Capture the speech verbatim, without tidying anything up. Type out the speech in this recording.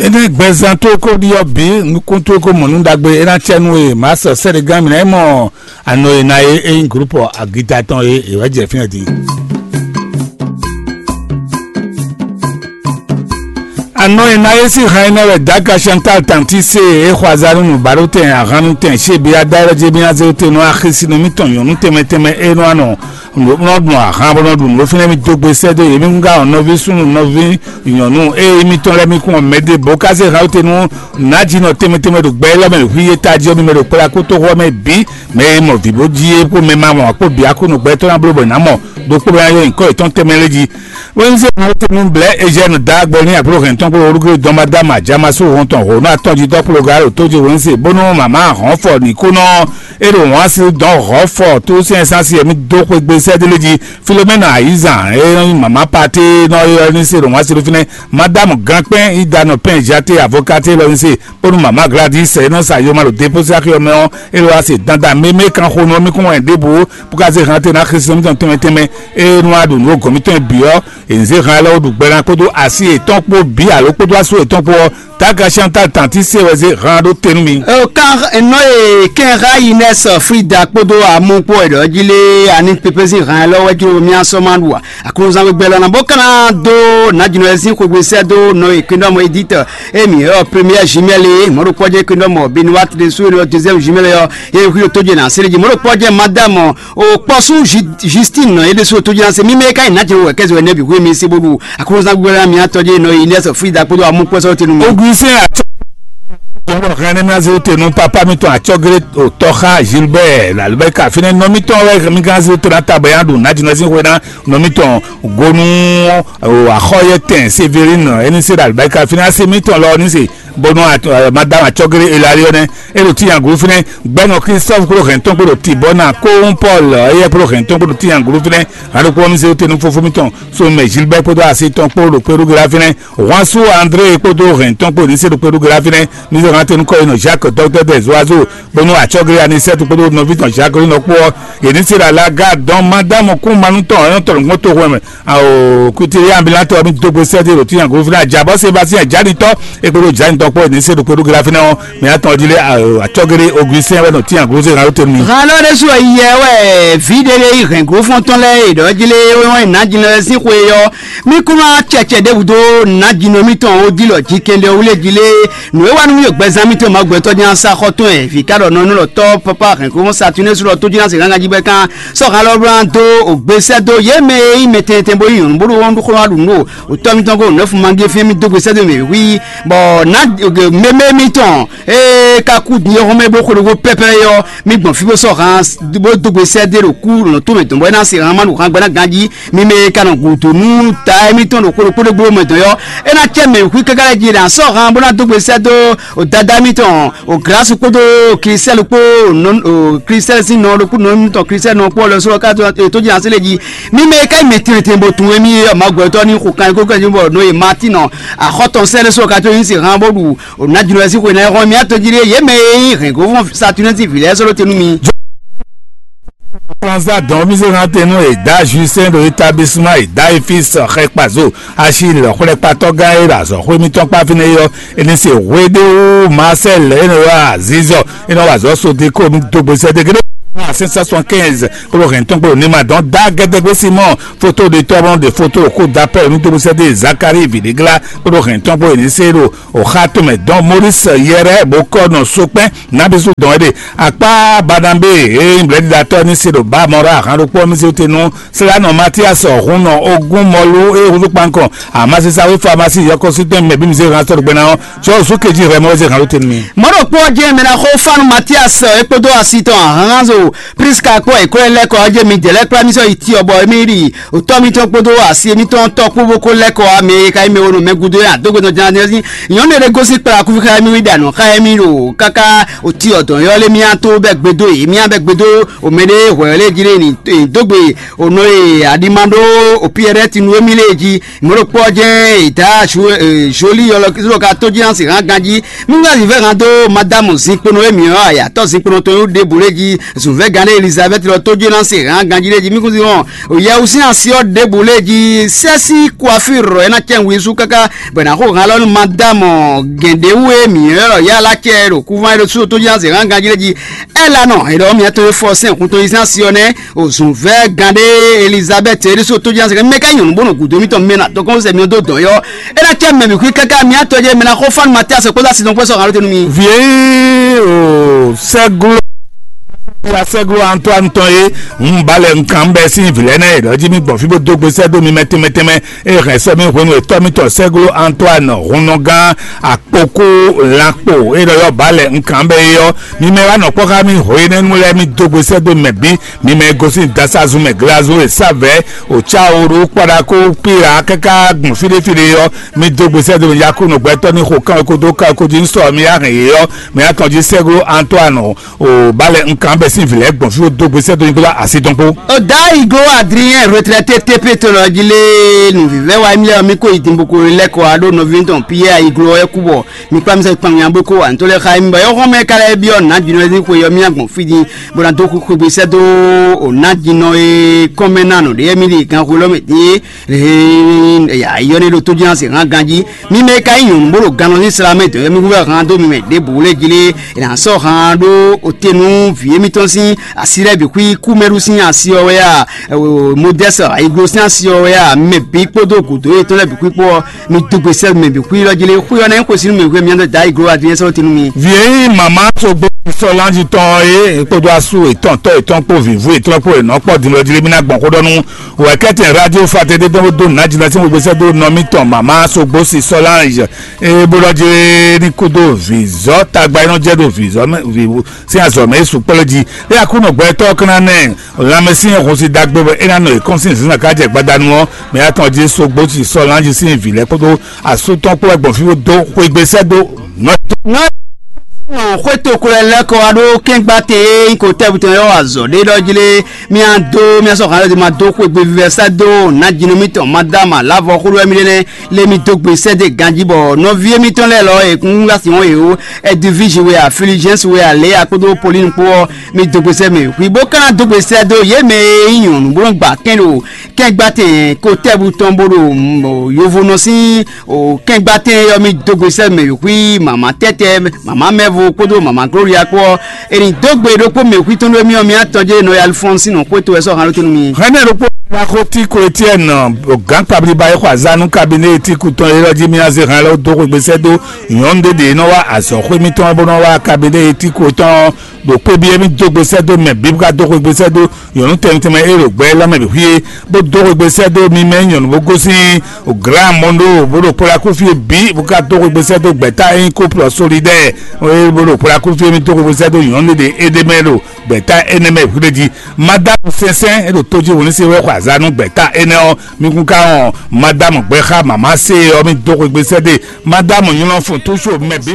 Énɛ́ gbɛzán tó kó ɖiɔ bǐ nukún tó kó mɔ nú ɖagbe é ná cɛ nú e mǎ sɔ sɛ́ɖégán mǐ ná yi mɔ anɔ e ná é é nyí glǔpɔ agita tɔn e è wǎ jɛ fínɛ́ din. Anɔ e ná é sín han énɛ́ wɛ Daka Chantal Tanti se é xɔ azá nú nǔbáɖótɛn ahannutɛn Xebia Dayɔ́ Jebíazéwúte nú axisínɔ mǐtɔn nyɔ̌nu tɛnmɛ tɛnmɛ e nɔ anɔ nɔ ɖu ahan bó nɔ ɖu nǔ fínɛ́ mì dó gbe sɛ́ dó yě mì gúngán ɔ́ nɔví súnnu nɔví nyɔ̌nu ée mitɔn lɛ́ɛ mi kún ɔ́ mɛ ɖěbǔ ká zé han te nú nǎjínɔ tɛnmɛ tɛnmɛ ɖo gbɛ élɔ́ mɛ ɖo hwíyé tají ɔ́ mi mɛ ɖo kplá kútóxɔ mɛ bǐ mɛ e mɔ vǐ bó jí é kpó mɛ ma mɔ kpó bǐ akúnnu gbɛtɔ́ ná bló bɔ è nǎ mɔ ɖokpó bɔ ná yɔ nyǐkɔ yětɔn tɛnmɛ lé jí. Wénzé mɔtenu blɛ́ Eugène dá gbɔ ní àbúrò hɛn tɔn kpó orúkọ dɔnbadama jamasó hɔn tɔn hǒnú atɔn jí dɔkpló gǎ ɖo tó jí wénzé bónú màmá hɔn fɔ nǐkúnɔ é ɖo wǎn si dɔn hɔn fɔ tó sɛn sánsì ɛmí dó xwegbe sɛ́délé jí. Filomena ayizan é màmá paté nɔ é ní se ɖo wǎn si ɖó fínɛ́. Madame Gankpɛn idanɔ pɛn jate avokate lɔ ní se bónú màmá Gladys é nɔ sa yoma ɖo dépósé axi ɔmɛ ɔ́ é ɖo wá se dandan mémé kan xo nú ɔmí kún wɛn ɖěbǔ bó ká zé hante ná Xɛsi mítɔn tɛnmɛ tɛnmɛ. É nú a ɖo nǔ gɔ̌n mítɔn bǐ ɔ́, è nǐ zé han élɔ́ ɖu gbɛ ná kpódó asi yětɔn kpó bǐ alo kpódó asu yětɔn kpó ɔ́, Taga Chantal Tanti se wɛ zé han ɖó te nú mi. Kan nɔ e kɛn xa yi nɛ sɔ Frida kpódó amú kpó ɛɖɔ jí lé ani pépé sín han élɔ́ wɛ jló mía sɔ́ ma ɖu a? Aklúnzán gbɛgbɛ lɔ na bó ka ná dó nǎjínɔ e sín xwegbe sɛ́ dó nɔ e kwíndɔmɔ Edith émi ɔ première jumelle mɔɖokpɔjɛ kwíndɔmɔ Benoît ɖésú e nɔ deuxième jumelle ɔ ye xwí tójɛ na sélé jí mɔɖokpɔjɛ madame o kpɔsú Justine nɔ ye ɖésú tójɛ na sé mímɛ ka yi nǎjínɔ wɛ kɛzɛ wɛ nɛbi hwé mi sí bó ɖu aklúnzán gbɛgbɛ lɔ na mía tɔjɛ nɔ yi nɛsɔ Frida kpódó amú kpɔsɔ tenu mi. Augustin atsɔ Tɔnɔ hɛn nɛmɛ zé te nú papa mitɔn atsɔgre otɔxa Gilbert lalubɛka finɛ nɔ mitɔn wɛ mi gán zé te na tabɛ ya ɖo najinɔ sin hwe na nɔ mitɔn gonu axɔyɛ tɛn Severine ɛni se lalubɛka finɛ asi mitɔn lɔ ni se bonu madame atsɔgre elali ɔnɛ elo ti yan gulu finɛ gbɛnɔ Christophe klo hɛn tɔn kpolo ti bɔ na kohun Paul ɛyɛ klo hɛn tɔn kpolo ti yan gulu finɛ. Alukó mi zé te nú fofo mitɔn so mɛ Gilbert kpódó asi tɔn kpolo kpéɖu gla finɛ Juansu André kpódó hɛn tɔn kpó ní se ɖo kpéɖu gla finɛ. Ní sɔ hàn tẹnu kɔ yi nɔ Jacques dɔktɛr dɛ zoazo bónú atsɔgre anisɛtu kpódó nɔví tɔn Jacques nɔ kpó ɔ́ yě ní se ɖo alaga dɔn madamu kún manu tɔn ɔyɔn tɔn nukpɔn to hwɛ mɛ. Awo kutiri ambulatɔ mi dogbe sɛde ɖo tiyan govi na jabɔ Sébastien janitɔ ekpódó janitɔ kpó yě ní se ɖo kpéɖu gla finɛ ɔ́ mi atɔn ɔdí lé atsɔgre Augustin wɛ nɔ tiyan govi na ló tenu mi. Hàn lɔ ɖésú yɛ wɛ vǐ ɖé lé yi hɛn gǒfɔn tɔn lɛ́ɛ yi ɖɔ jí lé wọ́n yi nǎ jínɔ lɛ́ɛ sín xwe yɔ. Mí kún ná cɛcɛ ɖěbǔ dó nǎjínɔ mítɔn ó dílɔ jí kɛnɖɛ wú lé jí lé. Nǔ e wá nú mì ɖo gbɛzán mítɔn Mawu gbɛtɔ́ jɛ́n ná sá xɔ tɔn wɛ vǐ ká ɖɔ nɔ nú lɔ tɔ́ pápá hɛ̌nxóxó Satunɛ́su lɔ tó jɛ́n ná se gángan jí bɔ é kán sɔ́ han lɔ bó ná dó ògbé sɛ́ dó yě mɛ e nyí mɛ tɛntɛn bó nyí nyɔ̌nu bó ɖó wɔn ɖó xó wá ɖu nǔ ɖo òtɔ́ mítɔn kó nǔnɛ́fun mangéfín mì dó gbe sɛ́ dó mɛ wí bɔ ná mɛmɛ mítɔn ee ka kú din yɔ́xɔ́mɛ bó xwedó pɛ́pɛ́ ɔ́, mì gbɔn fí bó sɔ́ han bó dó gbe sɛ́ dó ɖo kú nɔ tó mɛ dɔn bɔ é ná se han ma ɖo han gbɛ́ ná ganjí. Mi mɛ e ka nɔ gǔdo nú ta émítɔn ɖo xwedó kpódó gbó mɛ dɔn yɔ, é ná cɛ mɛ wǔxwí káká lɛ́ɛ jí ɖo asɔ́ han bó ná dó gbe sɛ́ dó o dada émítɔn o Glǎsu kpódó Klísɛ́lu kpó o Klísɛ́lu sín nɔ ɖokpó nɔ émítɔn Klísɛ́lu nɔ kpó lɔ sɔ́ ká tó jí así lé jí. Mi mɛ e ka nyí mɛ tɛnmɛ tɛnmɛ bɔ tunwun émí yɔ Mawu gbɛtɔ́ ní xo kan kó kɛ́ bɔ nɔ e Matín nɔ axɔ́ tɔn sɛ́ ɖé sɔ́ ka tó nyí si han bó ɖu o nǎjínɔ lɛ́ɛ sín xwe ná é hɔn mì atɔn jí ɖé yě mɛ e nyí hɛ̌ngbófɔ́n Saturnɛ́si vǐ lɛ́ɛ sɔ́ ɖó te nú mi. Kplɔnzá dɔn mi zé hàn tenu e da Justin ɖo établissement e da Efis xɛ kpazo asi lɔ xwlɛkpatɔ gã e ɖo azɔxwé mitɔn kpa fínɛ́ yɔ eni se hweɖewo Marcel eno wa azizɔ eno wa azɔ sodeko mi dogbe sɛde gede. Cinq cent soixante-quinze kpolo hɛn tɔn kpolo nima dɔn da gɛdɛgbe Simon foto de tɔbɔn de foto ko dapɛ mi dogbe sɛde Zakari videgla kpolo hɛn tɔn kpolo eni se ɖo oxa tɔmɛ dɔn Maurice yɛrɛ bó kɔ nɔ sokpɛn nabisu dɔn ede akpa Banabé eye nyí blɛ̌ɖiɖatɔ́ ní se ɖo ba mɔ ɖo ahan ɖokpó ɔ́ mì se te nú Slanɔ Matias hun nɔ ogún mɔlu eye húzú kpankɔ amasisa wí famasi yɔkɔsítɛn mɛ bí mi se hàn sɔ́ ɖo gbɛ́ ná ɔ́ tsɔ zú kejí hwɛ mɔ wɛ se hàn ló te nú mi. Mɔ̌ ɖokpó ɔ́ jẹ́ mɛ ná xó fánu Matias é kpódó asi tɔn ahánhánzo Priska kpó ɛ̌nkwɛ́ lɛ́ kɔ ɔ́ jẹ́ mi dɛ̌ lɛ́ kplá mì sɔ́ yi Tiɔbɔ émí ɖi Otɔ́ mitɔn kpódó asi mitɔn tɔ́ kpó bó kó lɛ́ kɔ ame e ka nyí mɛ e nɔ mɛ gúdo é adógbe tɔn jɛ́n ná sí nyɔ̌nu e ɖé gosín kplá kúfíxá émí wí ɖa nǔ xá émí ɖo káká oti ɔdɔ̌n yɔ́ lé mía tó bɛ́ gbe dó yě mía bɛ́ gbe dó omɛ ɖé hwɛ̌ lé jí lé ní dó gbe onɔ e aɖima ɖó opiyɛɖɛ́ tinu émí lé jí mɔ̌ ɖokpó ɔ́ jɛ́n è dǎ Zolí yɔlɔ ka tó jí ná se hán ganjí mí ŋá zǐvɛ́ hán dó madámu zinkpono émí ɔ́ ayatɔ́ zinkpono tɔn yó ɖěbǔ lé jí Vɛgǎn ɖé Elizabɛ́ti lɔ tó jé ná se hǎn ganjí ɖé jí mí kún sí hɔn. Yɛwú sín asi ɔ́ ɖěbǔ lé jí sɛ́sí kwafírɔ é ná cɛ wǔ sú káká bɔ è nǎ xo hǎn lɔ nú madámɔ gɛ̌ndéwú e mǐ ylɔ́ ɖɔ yá lá cɛ ɖo kúván é ɖo sú tó jé ná se hǎn ganjí ɖé jí. Ɛ́ la nɔ è ɖɔ mǐ atɔn e fɔ sɛn hun tɔn yi sín asi ɔ́ nɛ́. Òzǔnvɛ́ gán ɖé Elizabɛ́ti é ɖésú tójínásɛ kɛ mɛ ká nyɔ̌nu bó nɔ gǔdo mítɔn mɛ ná dɔkɔn sɛ mí dó dɔ̌n yɔ́. É ná cɛ mɛ mǐ xwí káká mí atɔjɛ mɛ ná xɔ fánu Matíasɛ kpódó asi dɔn kpɛ́ sɔ́ hǎn ló tɛnu mì. Vǐ e o sɛglo ya sɛglo Antoine tɔn e un ba lɛ un kan bɛ sín vǐ lɛ́ɛ nɛ́ e ɖɔ jí mì gbɔn fí bó dó gbe sɛ́ dó mi mɛ tɛnmɛ tɛnmɛ e hɛn sɛ́ mì hwenu e tɔ́ mítɔn sɛglo Antoine hunnɔgán akpokú lankpo e ɖɔ yɔ ba lɛ un kan bɛ é ɔ́, mi mɛ wá nɔ kpɔ́ xá mì hwe nɛ́ nú lɛ́ɛ mì dó gbe sɛ́ dó mɛ bǐ. Mi mɛ e gosín dasazun mɛ glazun e sá vɛ̌ Ocaoru kpɔɖaku Pila káká gbɔn fíɖéfíɖé ɔ́, mi dó gbe sɛ́ dó mi Yaku nɔgbɛtɔ́ ní xo kán ko dó ká ko jí sɔ mi yá hɛn yě ɔ́, mi yá tɔn jí sɛ́glo Antoine o ba lɛ un kan bɛ sín vǐ lɛ́ɛ gbɔn fí dó gbe sɛ́ dó mi kpódó asi tɔn kpó. Ọ̀dà Iglo Adrien retraité T P tɔn lɔ jí lé nǔvívɛ́ wa émí lɛ́ɛ mi kó yi dìbò kó lɛ́ kɔ wá ɖó nɔví tɔn Pierre Iglo ɔ́ kú bɔ mi kpá mi sɛ kpan nya bó kó wà nítorí xá émí bɔ yɔ́ xɔ́mɛ ka lɛ́ byɔ́ nǎ jǐnɔ ní xwe yɔ mì agbɔn fí din bó ná dó xwé xwegbe sɛ́ dó o nǎ jǐnɔ e kɔ́mɛ ná nɔ ɖě émí ɖi ganxu élɔ́ mɛ din e yɔ ní ɖo tó jínà se hán ganjí. Mi mɛ ka nyí nyɔ̌nu bó ɖo gannɔ ní sla mɛ dɔ̌ yɔ mí húvɛ hán dó mi mɛ ɖěbǔ lé jí lé è nǎ sɔ́ hán ɖó ote nú vǐ émítɔn sín asi lɛ́ɛ bǐ xwí kú mɛ ɖu sín asi ɔ́ wɛ a modɛ́sɛ ayiglo sín asi ɔ́ wɛ a mɛ bǐ kpódó gǔdo yětɔn lɛ́ɛ bǐ xwí kpó ɔ́ mi dó gbe sɛ́ mɛ bǐ xwí lɔ jí lé xwí ɔ́ ná nyí xwesínú mɛ hwɛ mián dó da ayiglo adúnyɛ sɔ́ tinu mi. Vǐ e nyí mama sogbo sɔlanji tɔn ɔ́ é kpódó asú ètɔn tɔ́ ètɔn kpó vǐvú ètɔn kpó ènɔ kpɔ́ din lɔ jí lé mí ná gbɔn xó ɖɔ nú wɛ̌kɛ́tɛn radio fate ɖé dɔn bó dó nǎ jí ná sín xwegbe sɛ́ dó nɔ mítɔn mama sogbo si sɔlanji é bó lɔ jí lé ní kúdó vǐzɔ́ tagba é nɔ jɛ ɖo vǐzɔ́ mɛ vǐvú sín azɔ̌ mɛ é sukpɔ́ lé jí é Aklúnɔ gbɛtɔ́ ɔ́ kán ná nɛ lanmɛsyɛn hun si ɖagbe bɔ é ná nɔ yě kɔn sín zǐnzán ká jɛ gbadanu ɔ́, mɛ atɔn jí sogbo si sɔ́ lanjí sín vǐ lɛ́ɛ kpódó asú tɔn kpó wɛ gbɔn fí bó dó xwegbe sɛ́ dó nɔ. Nɔ xwéto ko lɛ lɛ́ kɔ wá ɖó kɛ́ngbátɛ e nyí ko tɛ́butɔn yɔ́ azɔ̌ ɖé ɖɔ jí lé mía dó mía sɔ́ hǎn lɛ́ɛ ma dó xwegbe vívɛ́ sɛ́ dó nǎ jínú mítɔn Madama Lavɔ xó ɖó wɛ mí ɖe nɛ́ lé mí dó gbe sɛ́ dó ganjí bɔ nɔví émítɔn lɛ́ɛ lɔ e kún wá sin wɔn yě ó. Ɛdiviji wɛ a, Filijɛnsi wɛ a, Lea kpódó Polínu kpó ɔ́, mi dó gbe sɛ́ mɛ hwi bó ka ná dó gbe sɛ́ dó yě mɛ e nyí nyɔ̌nu bó nɔ́ gba kɛn ɖo kɛ́ngbátɛn ko tɛ́bú tɔn bó ɖo yovonɔ sín kɛ́ngbátɛn ɔ́, mi dó gbe sɛ́ mɛ hwi mama tɛ́tɛ mama mɛvo kpódó mama Gloria kpó ɔ́, è nǐ dó gbe ɖokpó mɛ hwi tɔn ɖó émí ɔ́, mi atɔn jɛ nɔ Alifɔnsi nɔ xwéto wɛ sɔ́ hǎn ɖó tɛ́ nú mi. Hɛnɛ ɖokpó Laxoti ko Etiɛni gǎn kpablíba e xɔ azǎn nú kabiné e tíkú tɔn é lɔ jí mì ná zé hǎn lɛ́ɛ dó xwegbe sɛ́ dó nyɔ̌nu ɖé ɖě nɔ wá azɔ̌xwé mítɔn bó nɔ wá kabiné e tíkú tɔn ɖo kpé byɔ́ mì dó gbe sɛ́ dó mɛ bǐ bó ka dó xwegbe sɛ́ dó nyɔ̌nu tɛnmɛ tɛnmɛ e ɖo gbɛ élɔ́ mɛ bǐ xwíé, bó dó xwegbe sɛ́ dó mi mɛ nyɔ̌nu bó gosín Glǎmondo bó ɖo kpɔ́ɖákúfí e bǐ bó ka dó xwegbe sɛ́ dó gbɛ̌ta e nyí kóplɔ solidɛ́ɛ bó ɖo kpɔ́ɖákúfí e mì dó xwegbe sɛ́ dó nyɔ̌nu ɖé ɖé é ɖ'é mɛ ɖo gbɛ̌ta énɛ́ mɛ hwiɖe jí. Madámu sɛnsɛn e ɖo tó jí wǒ ní se wɛ xɔ azǎn nú gbɛ̌ta énɛ́ ɔ́, mi kún ka wɔn madámu gbɛxá mama se ɔ́, mi dó xwegbe sɛ́ dó madámu nylɔ́fun túsú mɛ bǐ.